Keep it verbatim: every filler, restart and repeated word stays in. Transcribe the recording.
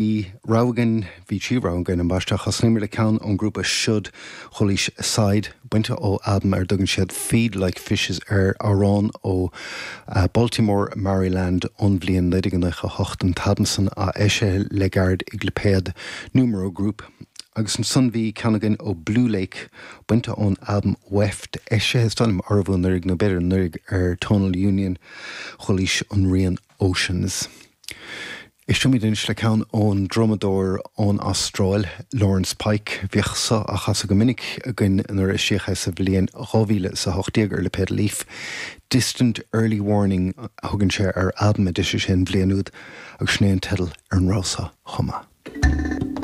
Rogha againn bhí trí rogha againn ambaiste thosnaíomar le ceann ón grúpa Should Chualaís Side bainte ó albam ar dtugann siad Feed Like Fishes ar amhrán ó uh, Baltimore, Maryland ón bhliain naoi déag nócha hocht an t-albam san a eisíodh le gairid ag lipéad Numero Group. Agus ansan bhí ceann againn ó Blue Lake bainte ón albam Weft eisithe is dóigh liom arbh anuraidh nó b'fhéidir anuraidh ar Tonal Union chualaís an rian Oceans. Éistfimid anois le ceann ón drumadóir ón Astráil Lawrence Pike bhíodh seo á chasadh go minic againn nuair a eisíodh é sa bhliain dhá mhíle is a hocht déag ar lipéad Leaf. Distant Early Warning a thugann sé ar albam a d'eisigh sé an bhliain úd agus sin é an teideal ar an rogha seo chomh maith.